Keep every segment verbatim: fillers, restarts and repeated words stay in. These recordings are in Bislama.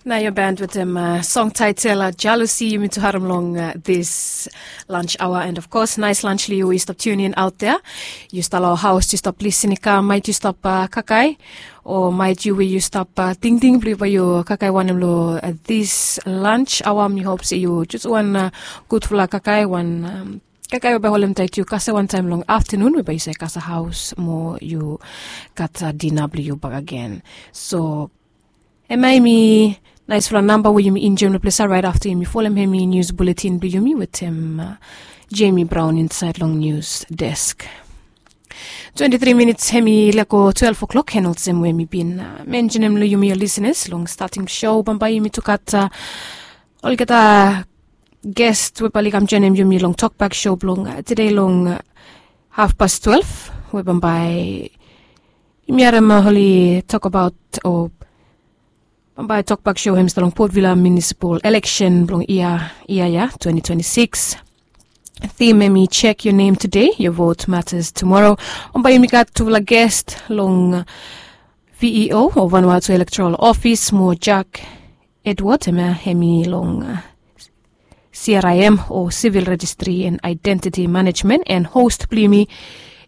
Nao yu band wetem song taitel jealousy yumi tu harim long this lunch aoa and of kos nais lunch long yu we yu stap tunin aot dea. Yu stap long haos yu stap lisin i kam mait yu stap kaikai, o mait yu we yu stap tingting blong yu bai yu kaikai wanem long this lunch aoa mi hop se yu jus wan gudfala kaikai wan kaikai we bai holem tait yu kase wantaem long aftanun we bai yu save kase haos mo yu gat dina blong yu bakagen. So em ya hemi naisfala namba we yumi injoem long ples ya raet afta yumi folem hemi nius buletin blong yumi wetem jemi braon insaed long nius desk. Twenti tri minits hemi lego twelef oklok en olsem we mi bin mensenem long yumi ol lisenas long stating sho bambae yumi tu gat olgeta gest we bae oli kam joenem yumi long tokbak sho blong tede long hafpas twelef we bambae yumi harem oli tokabaot o bambae tokbak sho hem i stap long potvila munisipal eleksen blong yia ya twenti twenti sikis. Thim hem i check your name today your vote matters tomorrow. Bambae yumi gat tufala gest long veo o vanuatu elektoral ofis mo jack edward hem ya hem i long crim o civil registry and identity management and host blong yumi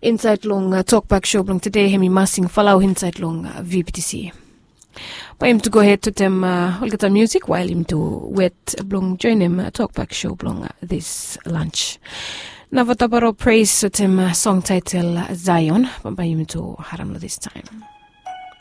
insaed long tokbak sho blong tede hem i masing falau insaed long vptc. Bae yumi tu gohed wetem olgeta musik wael yumi tu wet blong joenem tokbak sho blong this lunch. Nao vataparo pres wetem song taitel zion bambae yumi tu harem long this taem.